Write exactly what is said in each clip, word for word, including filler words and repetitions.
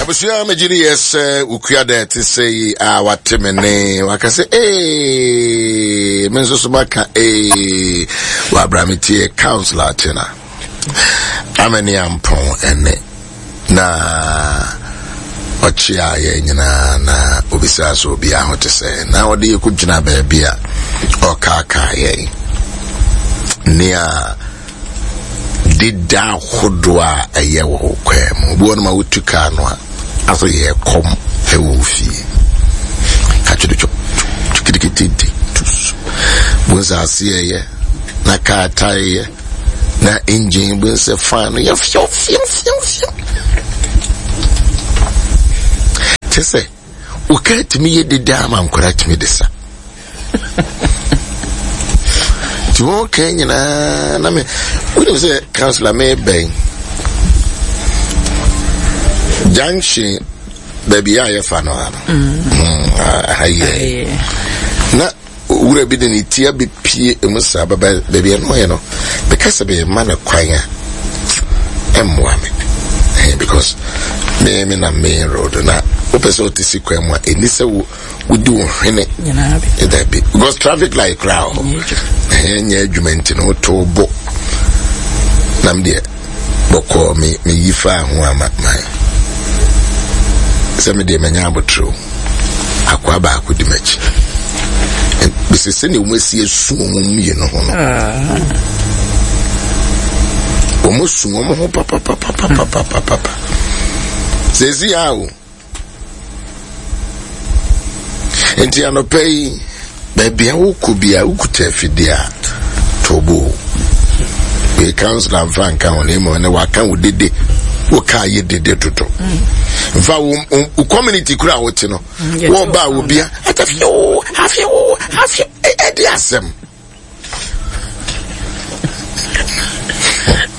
Abusua, megye di yɛ sɛ wokua da ɛte sɛ yi a wate me ne waka sɛ ee, me nso so maka ee. Wabra me tie Councillor Tena Amani Ampɔn ɛne na ɔkyea yɛn nyinaa na obisaa sɛ obiara ho te sɛ na ɔde yɛ kɔgyina baabi a ɔkaakaa yɛn nea deda ahodoɔ a ɛyɛ wɔ wo kwan mu. Obi wɔ no ma wotu kaa no a asɛ yɛ kɔm ɛwɔ wo fie katwedetwɔ kitikititi tus bu nsɛ aseɛ yɛ na kaa tae yɛ na engine bu nsɛ fan no yɛ fiw fiw fiw fiw kyɛ sɛ wo kaa tumi yɛ deda ama nkwadaa tumi de sa. Nti wɔn kan nyinaa na me wonim sɛ councillor mebɛn junction baabi a yɛfa no ano ha yɛ na wura bi de ne ti abɛpie emu saa bɛbɛ baabi ɛno yɛ no bɛka sɛ bɛyɛ no kwan a ɛmmoa me because me me na main road na wopɛ sɛ wote si kwan mu a ɛni sɛ wo wodi wo hwene dabi because traffic light koraa hɔ ɛhɛn nyɛ adwuma nti no woto bo nam deɛ bɔkɔɔ me meyi faa ho ama man sɛ me deɛ manya abotire akoa baako di m'akyi bɛsɛ sɛnea wɔn asi asu wɔn mmienu ho no wɔn su wɔn ho papapapapapapapa sɛsi a o nti anɔpɛ yi baabi a wokɔ bi a wokuta afidie a tobo wei councillor mfa nka ho na mmom ne waka wo dede wo kaa yɛ dede dodo mfa wo wo community kura a wote no wɔn ba a wobia atafio afio afio ɛde asɛm.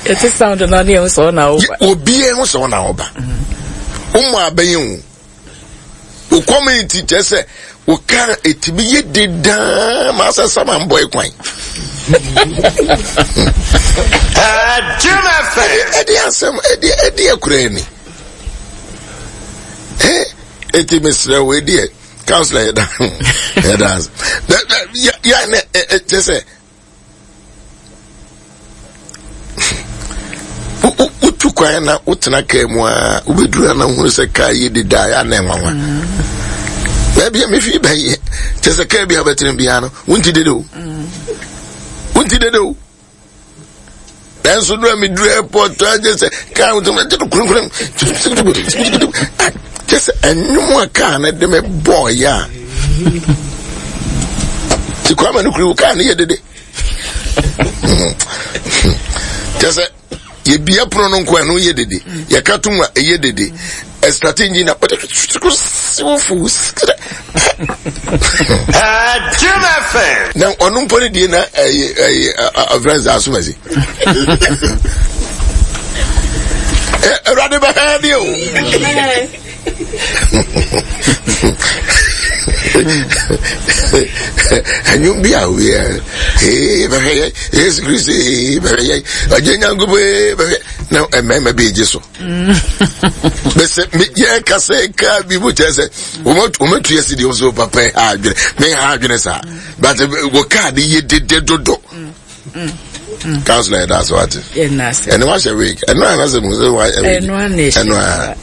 Ɛte sound na ne ɛho sɛ ɔna ɔba. Obi ɛho sɛ ɔna ɔba. Wɔn mu abɛyɛ o. Wo community kyerɛ sɛ wo kaa etimi yɛ dedaa ma asɛ sama mbɔ ekwan. Ɛde asɛm ɛde ɛde akura ni. Ɛ eti mesrɛ wo ɛdeɛ councillor yɛ da yɛ da yɛ yɛ ne ɛ kyerɛ sɛ wotu kwan na wotena kaa mu a wobɛduru ana wohunu sɛ kaa yɛ dedaa yɛ ana nwanwa baabi a mefi bɛyɛ kyɛ sɛ kaa bi a wobɛtena biara no wonti dede o wonti dede o nanso no a meduru airport agye sɛ kaa wotokurukurum kyɛ sɛ ɛnwom a kaa no de me bɔɔyɛ a nti kwama no kuri wo kaa no yɛ dede kyɛ sɛ yɛbia pono no nko a ɛno yɛ dede yɛka tom a ɛyɛ dede ɛstate nyi na na ɔno mpo ne deɛ na ɛyɛ ɛyɛ ɔfrɛ sɛ asomasi Awurade bɛhɛ deɛ o. Ɛnwom bi a obiara ee bɛhwɛ yɛ Yesu Kristo ee bɛhwɛ yɛ ɔgye Nyankopɔn ee bɛhwɛ na mmarima bi egye so bɛsɛ yɛ kasa kaa bi mu kyerɛ sɛ wɔn atu yɛ si deɛ wɔn so papa ha adwene mɛ ha adwene saa but wɔ kaa de yɛ dede dodo. Councillor yɛ da so ate ɛne wahyɛ wig ɛno a nasɛ mu sɛ wayɛ wig ɛno a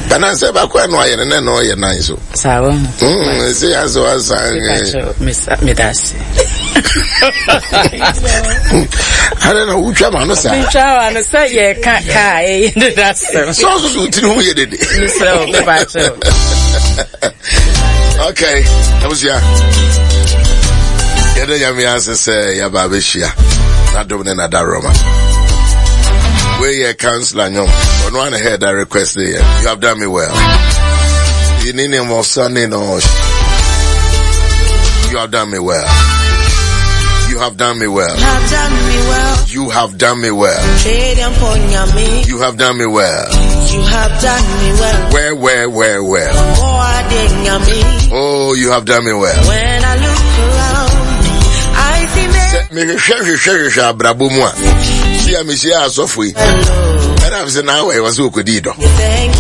bana sɛ baako ɛno ayɛ no na ɛno ɔyɛ nan so saa wɔ ho ɛsɛ yɛ asɛ wasan medase adɛ na wotwa ma no saa metwa ma no sɛ yɛka kaa ɛyɛ deda asɛm sɛ ɔsoso wo tiri ho yɛ dede mesrɛ wo mebakyɛw. Okay, abusua yɛda Nyame ase sɛ yɛaba abɛhyia n'adom ne n'adaroma. Wei yɛ councillor nwom ɔno ana head that request yɛ "You Have Done Me Well". Yini ne mɔsa no. You have done me well. You have done me well. You have done me well. You have done me well. You have done me well. Where, where, where, where? Oh, you have done me well. When I look around, I see me. Mehwehwɛ hwehwɛ hwehwɛ abrabɔ mu a si a mehyia asɔfo yi ɛna sɛ na awɔ ɛwɔ sɛ ɔkɔdii dɔ. Thank